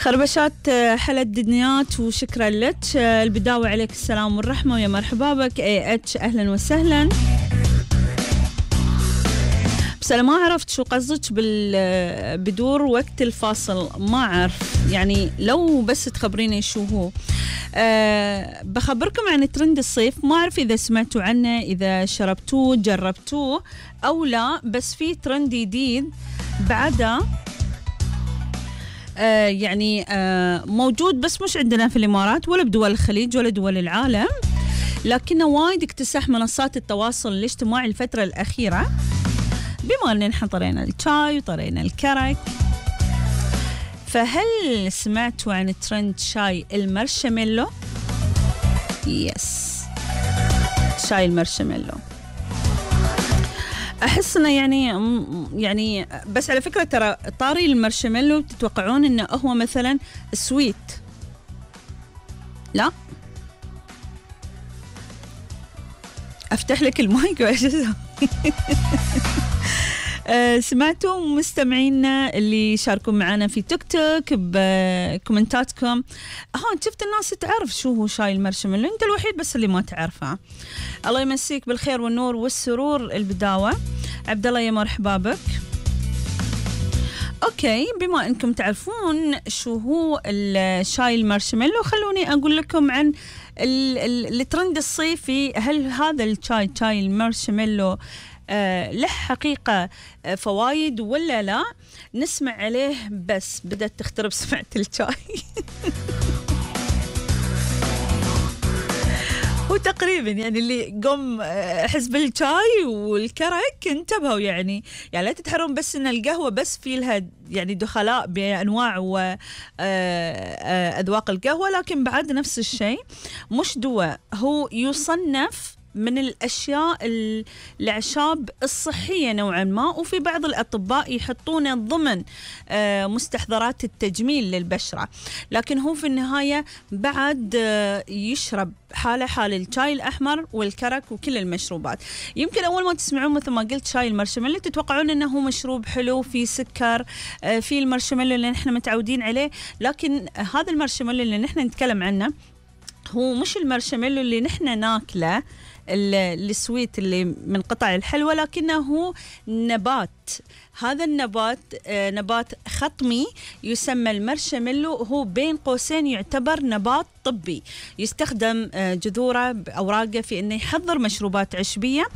خربشات حلا الدنيات وشكرا لك. البداوة عليك السلام والرحمة ويا مرحبا بك اتش أهلا وسهلا. بس أنا ما عرفت شو قصدك بدور وقت الفاصل، ما أعرف يعني، لو بس تخبريني شو هو. بخبركم عن ترند الصيف، ما أعرف إذا سمعتوا عنه، إذا شربتوه جربتوه أو لا، بس في ترند جديد بعده يعني موجود، بس مش عندنا في الإمارات ولا بدول الخليج ولا دول العالم، لكنه وايد اكتسح منصات التواصل الاجتماعي الفترة الأخيرة، بما أننا نحن طرينا الشاي وطرينا الكرك. فهل سمعتوا عن ترند شاي المارشميلو؟ يس، شاي المارشميلو. أحس إنه يعني بس على فكرة ترى طاري المارشميلو تتوقعون إنه هو مثلا سويت، لا أفتح لك المايك وإيش سمعتوا مستمعينا اللي شاركوا معنا في تيك توك بكومنتاتكم؟ شفت الناس تعرف شو هو شاي المارشميلو، انت الوحيد بس اللي ما تعرفه. الله يمسيك بالخير والنور والسرور. البداوة عبد الله يا مرحبا بك. اوكي، بما انكم تعرفون شو هو الشاي المارشميلو، خلوني اقول لكم عن الترند الصيفي. هل هذا الشاي شاي المارشميلو له حقيقة فوايد ولا لا؟ نسمع عليه. بس بدأت تخترب سمعة الشاي وتقريبا يعني اللي قم حزب الشاي والكرك انتبهوا، يعني لا تتحرون بس ان القهوة بس في لها يعني دخلاء بأنواع وأذواق القهوة، لكن بعد نفس الشيء مش دواء، هو يصنف من الأشياء الأعشاب الصحية نوعا ما، وفي بعض الأطباء يحطونه ضمن مستحضرات التجميل للبشرة، لكن هو في النهاية بعد يشرب حال الشاي الأحمر والكرك وكل المشروبات. يمكن أول ما تسمعون مثل ما قلت شاي المارشميلو تتوقعون أنه هو مشروب حلو في سكر، في المارشميلو اللي نحن متعودين عليه، لكن هذا المارشميلو اللي نحن نتكلم عنه هو مش المارشميلو اللي نحن ناكله السويت اللي من قطع الحلوى، لكنه هو نبات. هذا النبات نبات خطمي يسمى المارشميلو، هو بين قوسين يعتبر نبات طبي، يستخدم جذوره بأوراقه في أنه يحضر مشروبات عشبية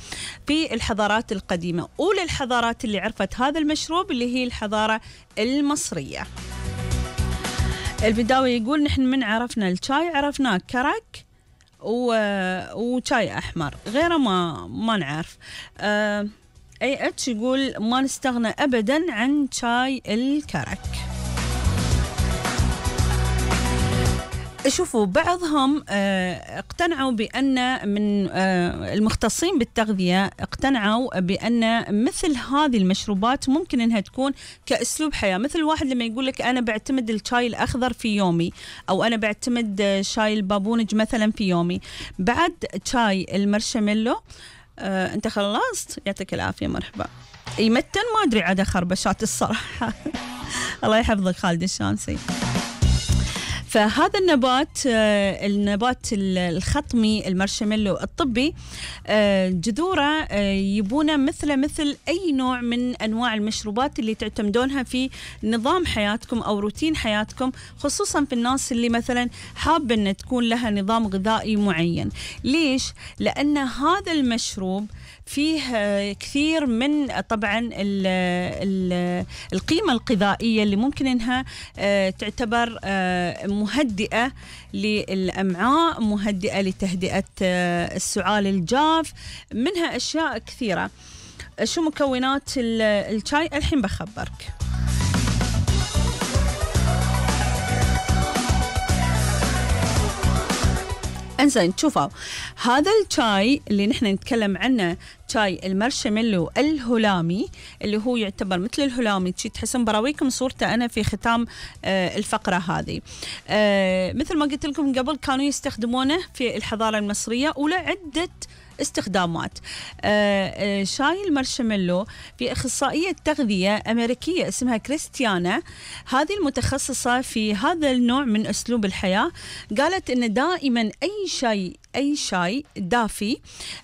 في الحضارات القديمة. أولى الحضارات اللي عرفت هذا المشروب اللي هي الحضارة المصرية. البداوة يقول نحن من عرفنا الشاي عرفناه كرك وشاي أحمر، غيره ما نعرف. أي اتش يقول ما نستغنى أبدا عن شاي الكرك. شوفوا بعضهم اقتنعوا بأن من المختصين بالتغذية اقتنعوا بأن مثل هذه المشروبات ممكن أنها تكون كأسلوب حياة، مثل واحد لما يقول لك أنا بعتمد الشاي الأخضر في يومي، أو أنا بعتمد شاي البابونج مثلا في يومي. بعد شاي المارشميلو أنت خلصت، يعطيك العافية مرحبا. يمتن ما أدري عدا خربشات الصراحة الله يحفظك خالد الشامسي. فهذا النبات الخطمي المارشميلو الطبي جذوره يبونه مثل أي نوع من أنواع المشروبات اللي تعتمدونها في نظام حياتكم أو روتين حياتكم، خصوصا في الناس اللي مثلا حابة أن تكون لها نظام غذائي معين. ليش؟ لأن هذا المشروب فيه كثير من طبعا القيمة الغذائية اللي ممكن أنها تعتبر مهدئة للأمعاء، مهدئة لتهدئة السعال الجاف، منها أشياء كثيرة. شو مكونات الشاي؟ الحين بخبرك. انزين، شوفوا هذا الشاي اللي نحن نتكلم عنه شاي المارشميلو الهلامي اللي هو يعتبر مثل الهلامي، تحسن براويكم صورته أنا في ختام الفقرة هذه. مثل ما قلت لكم قبل كانوا يستخدمونه في الحضارة المصرية وله عدة استخدامات. شاي المارشميلو في أخصائية تغذية أمريكية اسمها كريستيانا، هذه المتخصصة في هذا النوع من أسلوب الحياة، قالت إن دائما أي شاي دافي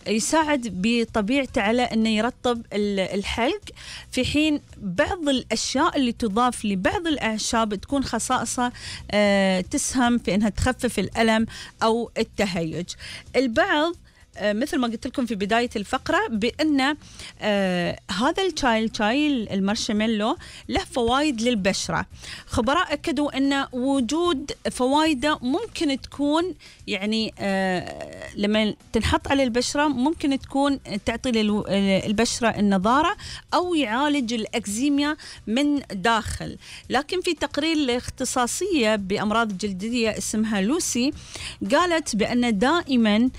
يساعد بطبيعته على أنه يرطب الحلق، في حين بعض الأشياء اللي تضاف لبعض الأعشاب تكون خصائصها تسهم في أنها تخفف الألم أو التهيج. البعض مثل ما قلت لكم في بداية الفقرة بأن هذا الشاي المارشميلو له فوائد للبشرة. خبراء أكدوا أن وجود فوائده ممكن تكون يعني لما تنحط على البشرة ممكن تكون تعطي للبشرة النضارة أو يعالج الأكزيميا من داخل. لكن في تقرير لاختصاصية بأمراض جلدية اسمها لوسي قالت بأن دائما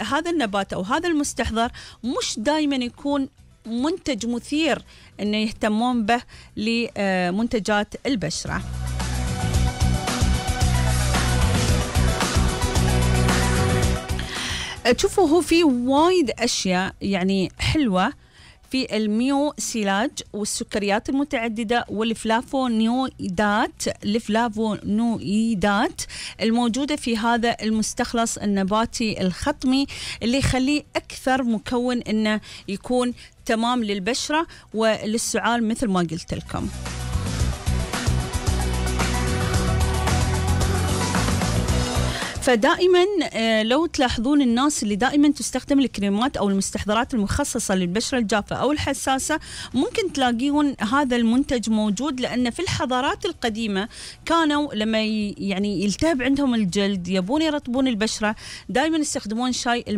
هذا النبات أو هذا المستحضر مش دائما يكون منتج مثير أنه يهتمون به لمنتجات البشرة. تشوفوا هو في وايد أشياء يعني حلوة في الميو سيلاج والسكريات المتعددة والفلافونويدات الموجودة في هذا المستخلص النباتي الخطمي اللي يخليه أكثر مكون إنه يكون تمام للبشرة وللسعال مثل ما قلت لكم. فدائما لو تلاحظون الناس اللي دائما تستخدم الكريمات أو المستحضرات المخصصة للبشرة الجافة أو الحساسة ممكن تلاقيون هذا المنتج موجود، لأن في الحضارات القديمة كانوا لما يعني يلتهب عندهم الجلد يبون يرطبون البشرة دائما يستخدمون شاي